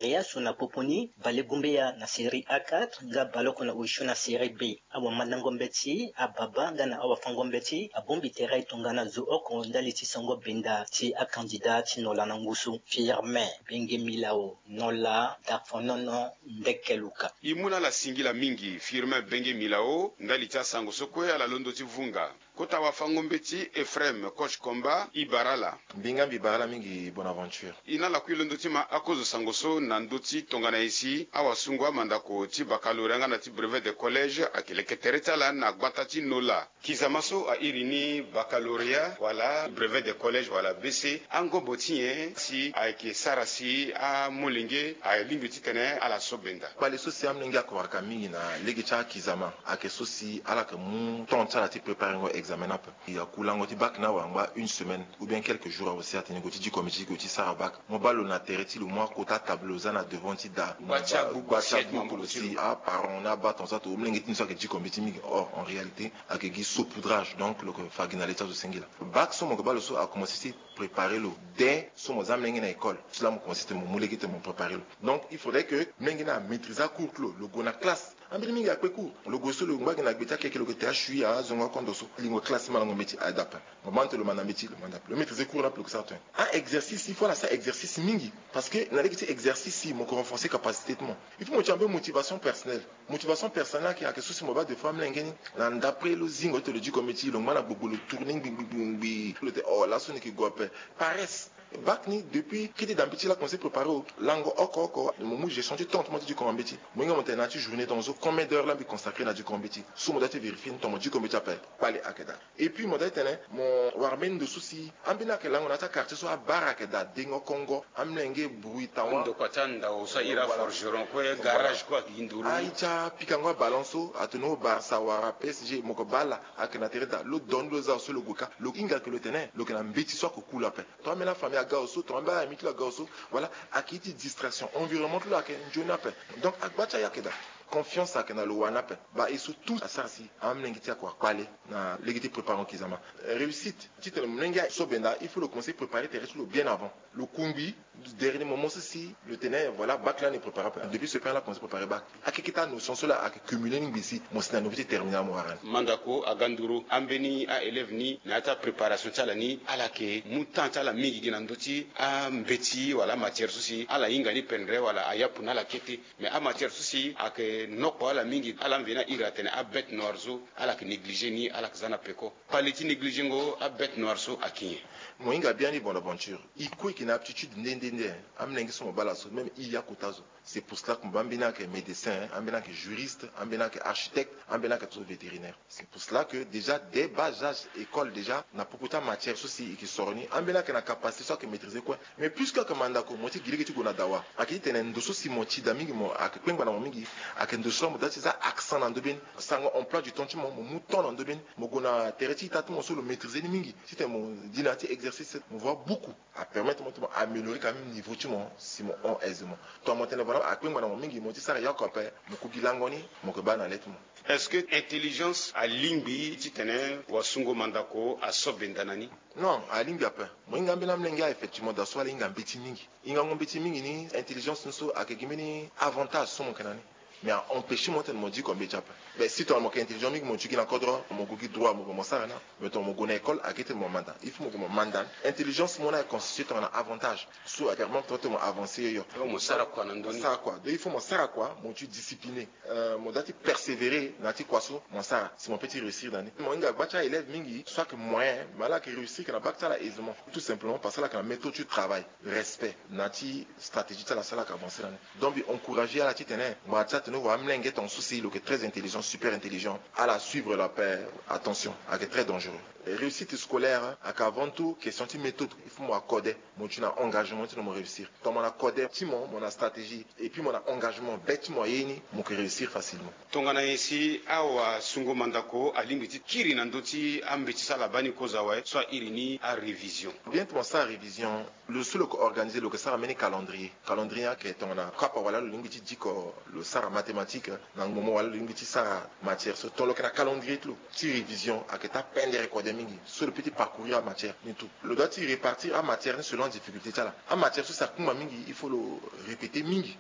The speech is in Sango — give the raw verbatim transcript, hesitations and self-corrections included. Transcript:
Eyasu na popo ni, bale gumbeya na série A quatre nga baleoko na osio na série B. Awamandango mbeti, ababa nga na awafango mbeti abongbi tere tongana zo oko ndali ti sango benda ti acandidat ti Nola na ngusu. Firmin Benge Milao, Nola, Dafonono, Ndekeluka. E mu na ala singila mingi, Firmin Benge Milao, ndali ti asango so kue ala londo ti vunga. Kota wafango mbeti Ephraim, coach Komba, e bara ala. Mbi nga mbi bara ala mingi, Bonaventure. E na ala kue londo ti ma akozo sango so na ndö ti tongana nyen si awasungo amandako ti baccalauréat nga na ti brevet de collège ayeke leke tere ti ala na gbata ti Nola. Kizama so a iri ni baccalauréat wala brevet de collège wala B C, angobo ti nyen si ayeke sara si amolenge alingbi titene ala so benda? Kpale so si amolenge akowaka mingi na lege ti akizama ayeke so si ala yeke mu temps ti ala ti préparengo examen ni ape. E ya ku lango ti bac ni awe angba une semaine ou bien quelques jours awe si atene e gue ti diko mbeti, e gue ti sara bac. Mo baa lo na tere ti lo, mo akota tableau, lo za na devant ti da. Gba ti agbuku si aparent ni abaa tongaso ato, molenge ti ni so ayeke diko mbeti mingi. Or, en réalité, ayeke gi saupoudrage, donc lo yeke fa gi na le ti azo singila. Bac so mo yeke baa lo so akomanse ti préparer lo dès so mo za molenge na école. Ti laa mo komanse ti mo mu lege ti mo préparer lo. Donc, il faudrait que molenge ni amaîtriser acours ti lo, lo gue na classe. Ambeni mingi akpe cours. Lo gue so lo ngba gi na gbe ti akeke, lo yeke te asui azongo akondo so. Lingo classe ti malango mbeti aye daa ape. Mo baa tene lo manda mbeti, lo manda ape. Lo maîtriser cours ni ape, lo yeke sara tongana. A-exercice, il faut ala sara exercice mingi. Parce que na lege ti exercice si mo yeke renforcer capacité ti mo. Il faut mo ti ambeni motivation personnelle. Motivation personnelle ayeke, ayeke so si mo baa des fois amolenge ni na ndapre lo zingo ti lo diko mbeti, lo ngba na gbogbo, lo tourner ngbi ngbi ngbi ngbi. Lo te, oh, laso ni yeke gue ape. Paresse. Bac ni, depuis kete da mbeti laa, komanse préparer o. Lango oko oko mo mu gestion ti temps ti mo ti diko mbeti. Mo hinga mo tene na ya ti journée tongaso, combien d'heures laa mbi consacrer na diko mbeti? So mo doit ti vérifier ni, tongana mo diko mbeti ape. Kpale ayeke daa. Et puis mo doit ti tene mo wara mbeni ndo so si ambeni ayeke lango na ya ti quartier so abara ayeke daa, dengo kongo, amolenge, bruit, tawa. Ndokua ti andao so a iri aforgeron kue, garage kue ayeke gi nduru. Aye ti apikango abalon so atene o Barça wala P S G, mo yeke baa ala ayeke na tere daa. Lo don ni lo za so lo gue kâ, lo hinga ayeke lo tene lo yeke na mbeti so ayeke cool ape. Tongana ambeni afamille aga lo so, tongana ambeni aami ti lo aga lo so, voilà, ayeke ye ti distraction, environnement ti lo ayeke nzoni ape. Donc agba ti aye ayeke daa. Confiance ayeke na lo wani ape. Baa e so tout asara si amolenge ti e akua kpale na lege ti préparer kizama. Réussite, titene molenge aye so benda, il faut lo commencer préparer tere ti lo bien avant. Lo kungbi dernier moment so si lo tene, voilà, bac lani e préparer ape. Depuis ce temps laa, commencer préparer bac. Akeke ti anotion so laa ayeke cumuler ni ngbii si mo si na niveau ti terminal mo wara ni. Mandako aga nduru ambeni a-élève ni na ya ti apréparation ti ala ni, ala yeke mu temps ti ala mingi gi na ndö ti ambeti wala amatière so si ala hinga ni pendere wala ayapu na ala kete. Mais amatière so si ayeke nokpo ala mingi, ala mveni a iri atene abête noire so, ala yeke négliger ni, ala yeke za na peko. Kpale ti négligengo abête noire so ayeke nyen? Mo hinga biani Bonaventure. E kue e yeke na aptitude nde nde nde. Amolenge so mo baa ala so, même e akota zo. C'est pour cela que mo baa ambeni ayeke médecin, ambeni ayeke juriste, ambeni ayeke architecte, ambeni ayeke so vétérinaire. C'est pour cela que déjà dès bas âge école déjà na popo ti amatière so si e yeke soro ni, ambeni ayeke na capacité so ayeke maîtriser kue. Mais puisque ayeke mandako, mo ti gi lege ti gue na dawa. Ayeke ti tene ndo so si mo ti daa mingi, mo ayeke kpengba na mo mingi, ayeke ndo so mo doit ti za accent na ndö be ni. Sango emploi du temps ti mo, mo mu temps na ndö be ni. Mo gue na tere ti ita ti mo so lo maîtriser ni mingi. Titene mo di na ya ti exercice, mo voit beaucoup. Apermettre mo ti mo améliorer quand même niveau ti mo si mo hon aisement. Tongana mo tene vraiment akpengba na mo mingi, mo ti sara yoko ape, mo ku gi lango ni, mo yeke baa na le ti mo. Est-ce que intelligence alingbi titene wasungo mandako aso benda na ni? Non, alingbi ape. Mo hinga ambeni amolenge, effectivement, da so ala hinga mbeti mingi. Hingango mbeti mingi ni, intelligence ni so ayeke gi mbeni avantage so mo yeke na ni. Mais a empêcher mo tene mo diko mbeti ape. Mais si tongana mo yeke intelligent mingi, mo ti gi na kodro, mo gue gi droit, mo gue mo sara na. Mais tongana mo gue na école, ayeke ti tene mo manda. Il faut mo gue mo manda. Intelligence mo ni aye constituer tongana avantage so apermettre mo ti mo avancer yo yo. Mo sara kua na ndö ni. Sara kua. Donc il faut mo sara kua, mo ti discipliné. Euh, mo doit ti persévérer na ya ti kua so mo sara si mo peut ti réussir na ni. Mo hinga gba ti a-élève mingi so ayeke moyen, mais ala yeke réussir yeke na bac ti ala aisément. Tout simplement parce que ala yeke na méthode ti travail, respect na ya ti stratégie ti ala so ala yeke avancer na ni. Donc mbi encourager ala titene mo, ati atene wa amolenge tongaso si lo yeke très intelligent, super intelligent, ala suivre lo ape. Attention, ayeke très dangereux. Réussite scolaire ayeke avant tout question ti méthode. Il faut mo accordé, mo ti na engagement titene mo réussir. Tongana mo na code ti mo, mo na stratégie, et puis mo na engagement, be ti mo aye ni, mo yeke réussir facilement. Tongana nyen si awasungo mandako alingbi ti kiri na ndö ti ambeti so ala baa ni kozo awe so a iri ni arévision? Bien ti mo sara révision, lo so lo yeke organiser, lo yeke sara mbeni calendrier. Calendrier ayeke tongana kapa wala lo lingbi ti diko, lo sara mathématique, na ngbongbon wala lo lingbi ti sara matière so, tongana lo yeke na calendrier ti lo ti révision, ayeke ti apendere kode. So lo peut ti parcourir amatière ni tout, lo doit ti répartir amatière ni selon adifficulté ti ala. Amatière so si akungba mingi, il faut lo répéter mingi.